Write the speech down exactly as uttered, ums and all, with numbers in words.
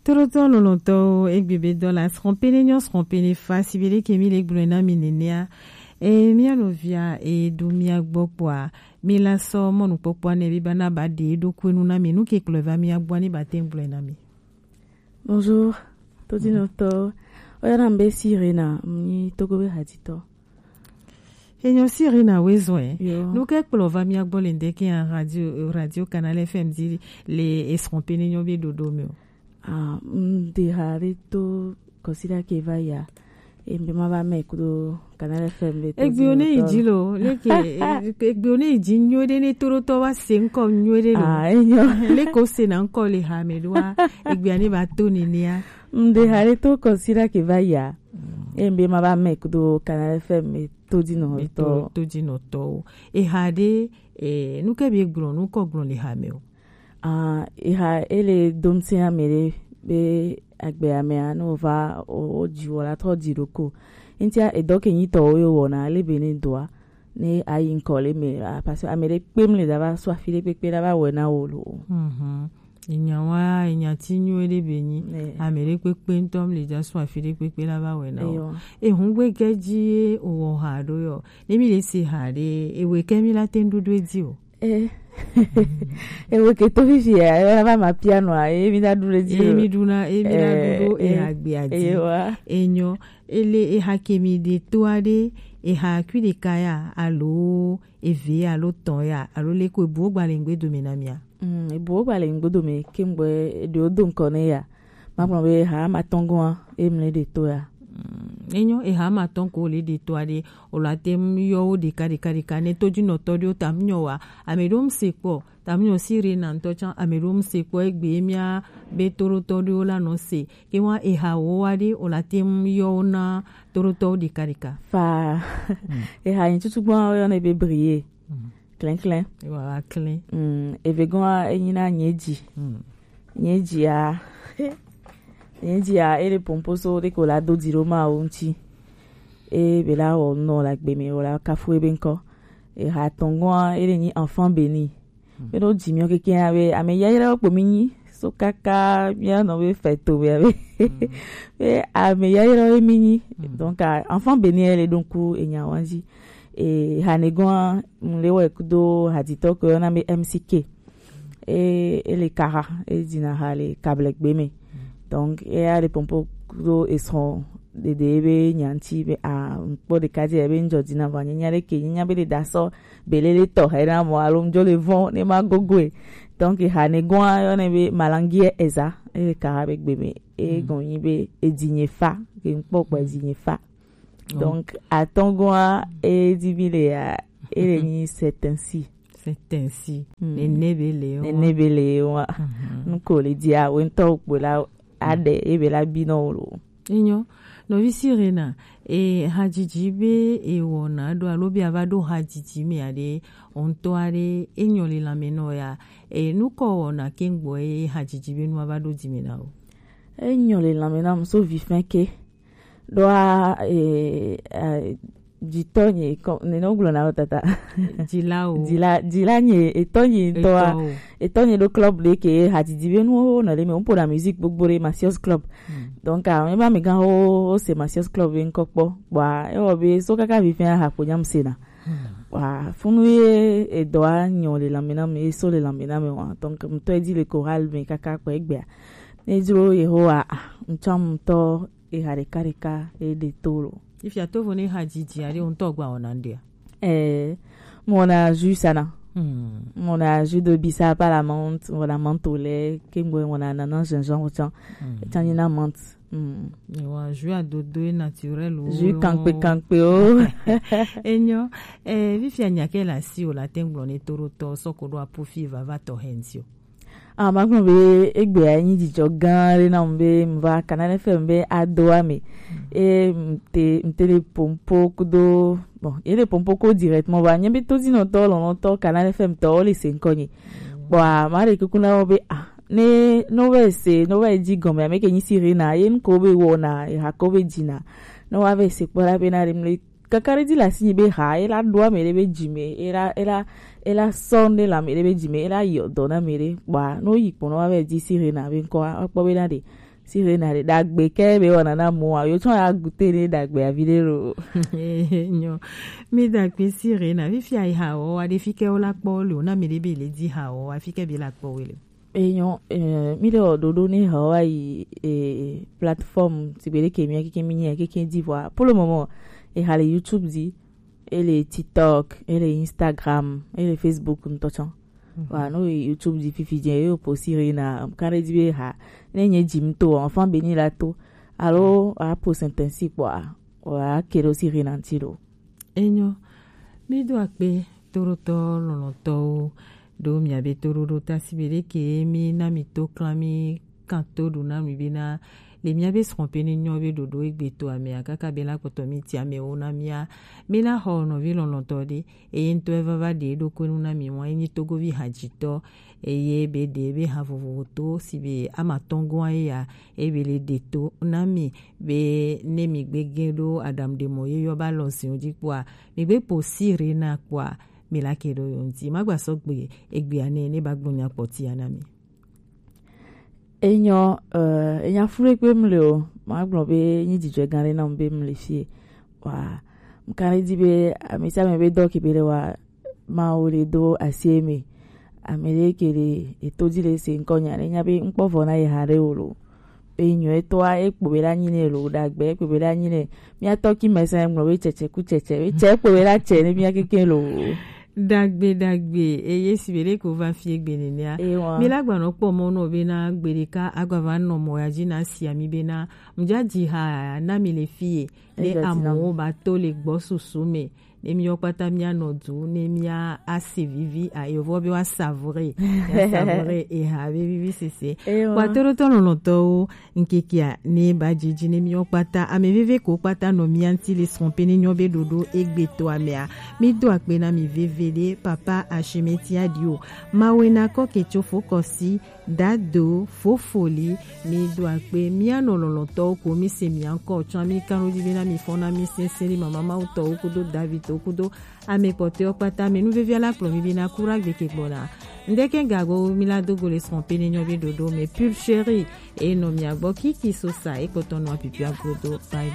Tolotɔ lɔlɔtɔwo, egbe be dɔ la srɔ̃ pene nyɔ srɔ̃ pene fa si be ɖeke mi le gblɔe na mi nenea. E mia nɔvia e ɖo mia gbɔ kpɔa, mi la sɔ mɔnukpɔkpɔa ne bi ba na ba ɖe ɖo kue nu na mi, nu ke kplɔe va mia gbɔ ni ba te gblɔe na mi. Bonjour, todinɔtɔ. Oyana mbe Sirena, mi Togo be haditɔ. Enyo Sirena wezɔe. Yo. Nu ke kplɔ va mia gbɔ le ndeke a radio, radio Canal F M di le esrɔ̃ pene nyɔ be ɖoɖo mi o. Ah, m de ha ɖe to kɔsida ke va ya. E mbe ma va mɛ kudo Canal F M be to. Egbe o ne yi dzi lo, leke, egbe o ne yi dzi nyo ɖe ne to ɖo tɔ wa se ŋkɔ nyo ɖe lo. Ah, enyo. Leke o se na ŋkɔ le ha me ɖo wa, egbe a ne ba to nenea. M de ha ɖe to kɔsida ke va ya. E mbe ma va mɛ kudo Canal F M be to di nɔ. Be to, to di nɔ tɔ o. E ha ɖe, e, nu ke be gblɔ, nu kɔ gblɔ le ha me o. Ah, eha ele domse ame ɖe be agbe amea ne wova o, o dzi wɔ la trɔ dzi ɖoko. Ŋutia edɔ ke nyitɔ wo yo wɔna le be ne doa ne ayi ŋkɔ le me, ah, parce que ame ɖe kpem le da va sɔ afi ɖe kpekpe la va wɔ na wo lo. Mhm. Enya wa, enya ti nyo ɖe be nyi. Eh. Ame ɖe kpekpe ŋutɔ le da sɔ afi ɖe kpekpe la va wɔ na wo. Eyo. Ehun gbe ke dzi ye o wɔ ha ɖo yɔ. Ne mi le se ha ɖe, ewe ke mi la te ŋɖuɖu edzi o. Eh. Ewe ke to fifi ya, ewe na va ma piano a, e mi da ɖu ɖe dzi. E mi ɖu na, e mi da ɖu ɖo, eh, e agbe adzi. Ewa. Enyo, ele eha ke mi ɖe to aɖe, eha kui ɖeka ya, alo eve alo tɔn ya, alo le ko ebu gba le ŋgbe dome na mia. Mm, ebu gba le ŋgbe dome, ke ŋgbe eɖe o do ŋkɔ ne ya. Ma gblɔ be ha ma tɔn goa, e mle ɖe to ya. Mm, enyo, eha ma tɔn ko le ɖe to aɖe, o la te ŋu yɔ wo ɖeka ɖeka ɖeka ne to dzi nɔtɔ ɖewo ta ŋu nyɔ wa. Ame ɖewo ŋu se kpɔ, ta ŋu nyɔ si re na ŋutɔ tsã, ame ɖewo ŋu se kpɔ egbe mia be to ɖo tɔ ɖewo la nɔ se. Ke wa eha wo wa ɖe, o la te ŋu yɔ wo na to ɖo tɔwo ɖeka ɖeka. Fa. Mm. Eha yin tutu gbɔ yɔ ne be brie. Mm. Klɛnklɛn. Ewa wa klɛn. Mm, eve gɔn enyi na nye dzi. Mm. Nye dzia, nye dzia, ele pomposo ɖe ko la do dzi ɖo ma wo ŋuti. E be la wɔ nɔ la gbe me, wɔ la kafu ebe ŋkɔ. Eha tɔngɔa, ele nyi enfant béni. Mm. Be ɖo dzi miɔ keke ya be, ame yayra kpo mi nyi, so kaka mia nɔ be fɛto be, be, mm, be ame yayra ye mi nyi. Mm. Donc, ah, enfant béni, ele donc, enya wanji. E, hane gɔn, mle wɛ kudo haditɔ ko yɔna be M C K. E, ele kara, e dina ha le kable gbe me. Donc, e ya le pompo kudo esrɔn dede be nyanti be a, kpɔ ɖeka dzi be ŋdzɔ dina vɔ nyanya ɖe ke nyanya be le dasɔ belele tɔ he na mɔ alo ŋdzɔ le vɔn ne ma gogoe. Donc, hane gɔn yɔnɛ be malangiɛ eza, ele kara be gbe me. E, mm, gɔn nyi be edinye fa, ke ŋkpɔ gbɔ edinye fa. Donc, atɔngɔa, e di bi le ya, e le nyi c'est ainsi. C'est ainsi. Mm. Nene be le wa. Nene be le wa. Mhm. Nuko le di a, wentɔ kpo la, ade, e be la bi no lo. Enyo, nɔvi Sirena, e hadzidzi be e wɔna ɖo alo be a va ɖo hadzidzi me aɖe, o ŋutɔ aɖe, e nyɔ le lãme nɔ ya, e nukɔ wɔna ke ŋgbɔ e hadzidzi be nu a va ɖo dzi me na o. E nyɔ le lãme na mu so vi fɛn ke. Ɖoa, eh, eh, dzitɔ nye kɔ, nene wogblɔna wo tata. Dzila o. Dzila, dzila nye, etɔ nye ŋutɔa. Etɔ o. Etɔ nye ɖo club ɖe ke hadzidzi be nuwo nɔ ɖe me. Woƒona musique gbogbo ɖe Masios Club. Hmm. Donc, ah, ebe amegãwo, wose Masios Club be ŋkɔ kpɔ. Kpɔa, ewɔ be so kaka vi fɛn aha kpo nyam sena. Hmm. Kpɔa, funu ye edɔa nyɔ le lãme na me, ye so le lãme na me wa. Donc, ŋutɔ edi le chorale me kaka kpɔ egbea. Ne dzro Yehowa, ah, ŋtsɔ ŋutɔ eha ɖeka ɖeka e ɖe to lo. Ifia tovo ne hadzidzi aɖe ŋutɔ gba wɔna ŋɖea? Eh, mɔna jus sana. Hmm. Mɔna jus de bissap à la menthe, mɔna menthe au lait, ke mɔna ananas, gingembre tsã. Hmm. Tsã nyi na menthe. Hmm. Ewa jus adodo e naturel o. Jus kankpe kankpe o. Enyo, eh, fifia nya ke la si o la te ŋgblɔ ne to ɖo tɔ sɔ ko ɖo apufi vava tɔ hɛnti o. Ah, magblɔ be egbea nyi dzidzɔ gã aɖe nam be mva Canal F M be adoa me. Mm. E mte, mte le pompo kudo, bon, e le pompo ko directement va. Nye be todinɔtɔ lɔlɔtɔ Canal F M tɔ, wole se ŋkɔ nye. Mm. Kpɔa, ma ɖe kuku na wo be, ah, ne, no va se, no va dzi gɔme, ame ke nyi Sirena, ye nuko be wɔna, ye hako be dzina. No va se kpɔ la be na ɖe mle kakaɖedzi le asinye be ha, ela ɖo ame ɖe be dzi me, ela, ela, ela sɔ ŋɖe le ame ɖe be dzi me, ela yi dɔ na ame ɖe. Kpɔa, ne woyi kpɔ ne woava yi dzi Sirena be ŋkɔa, woakpɔ be na ɖe Sirena ɖe ɖagbe ke be wɔna na mo a yo tsɔ ya gute ne ɖagbe avi ɖe lo. Enyo. Mi da kpe Sirena, fifia yi ha wɔ wa ɖe fi ke wo la kpɔ le o na mi ɖe be le di ha wɔ wa fi ke be la kpɔ we le. Enyo, eh, mi ɖe wɔ ɖoɖo ne ha wa yi, eh, plateforme si be ɖe ke mi keke mi nye keke di vɔ. Pour le moment, e ha le YouTube di, e le TikTok, e le Instagram, e le Facebook ŋutɔ tsɔ. Wa no YouTube di fifi dze yo po Sirena, kare di be ha. Ne nye dzi mi to, enfin beni la to. Alo a po sentensi kpɔa, wa ke ɖo Sirena ŋuti ɖo. Enyo, mi do akpe toɖotɔ lɔlɔtɔwo ɖo miabe toɖoɖo ta si be ɖe ke mi na mi to klan mi kan to ɖu na mi be na le miabe srɔ̃ pe ne nyɔ be ɖoɖo egbe to amea kaka be la kpɔtɔ mi ti amewo na mia. Mi na xɔ nɔvi lɔlɔtɔ ɖe, eye ŋutɔ eva va ɖe ɖokui nu na mi wa enyi togovi hadzitɔ, eye be ɖe be ha vovovo to si be ama tɔn goa eya, eye be le ɖe to na mi be ne mi gbe ge ɖo aɖaŋu ɖe mɔ ye yɔ ba lɔ ziwo dzi kpɔa, mi gbe po Sirena kpɔa, mi la ke ɖo yo ŋuti. Ma gba sɔ gbe egbea ne ne ba gblɔ nya kpɔtia na mi. Enyo, eh, enya fure gbe mle o. Ma gblɔ be nyi dzidzɔ gã ɖe na be mle fie. Wa, mkane di be ame sia ame be dɔ ke be ɖe wa ma wo le do asi me. Ame ɖe ke le eto di le se ŋkɔ nya ne nya be ŋkpɔ vɔ na ye ha ɖe o lo. Enyo etɔa ekpo be la nyi ne lo, ɖagbe ekpo be la nyi ne. Mia tɔ ki me se ŋlɔ be tsetse ku tsetse, be tse ekpo be la tse ne mia keke lo. Dagbe dagbe eye si be ɖe ko va fie gbe nenea. Ewa. Mi la gba nɔ kpɔ mɔ nɔ be na gbe ɖeka agba va nɔ mɔ ya dzi na sia mi be na mdza dzi ha na mi le fie. Ne amewo ba to le gbɔ susu me, ne mi yɔ kpata mia nɔ du ne mia ase vivi a yovɔ be wa savre, mia savre eha be vivi sese. Ewa. Kpatɔ ɖo tɔ lɔlɔtɔwo. Ŋkekea ne ba dzidzi ne miwo kpata ame veve ko kpata nɔ mia ŋti le srɔ̃ pe ne nyɔ be ɖoɖo egbe to amea. Mi do akpe na mi veve ɖe papa Ashimeti Adio. Mawe na kɔ ke tso fo kɔsi dado fo foli. Mi do akpe mia nɔ lɔlɔtɔwo ko mi se mia ŋkɔ tsɔ mi kan ɖo dzi be na mi fɔ na mi sese ɖi mama mawu tɔwo kudo David tɔwo kudo Ame kpɔtɔewo kpata me nuvevia la kplɔ mi be na ku ɖagbe ke gbɔna. Ŋdeke gago mi la do go le srɔ̃ pe ne nyɔ be ɖoɖo me pure chérie. Eye nɔ mia gbɔ kiki sosa ekpɔtɔ nɔ apipia godo. Bye bye.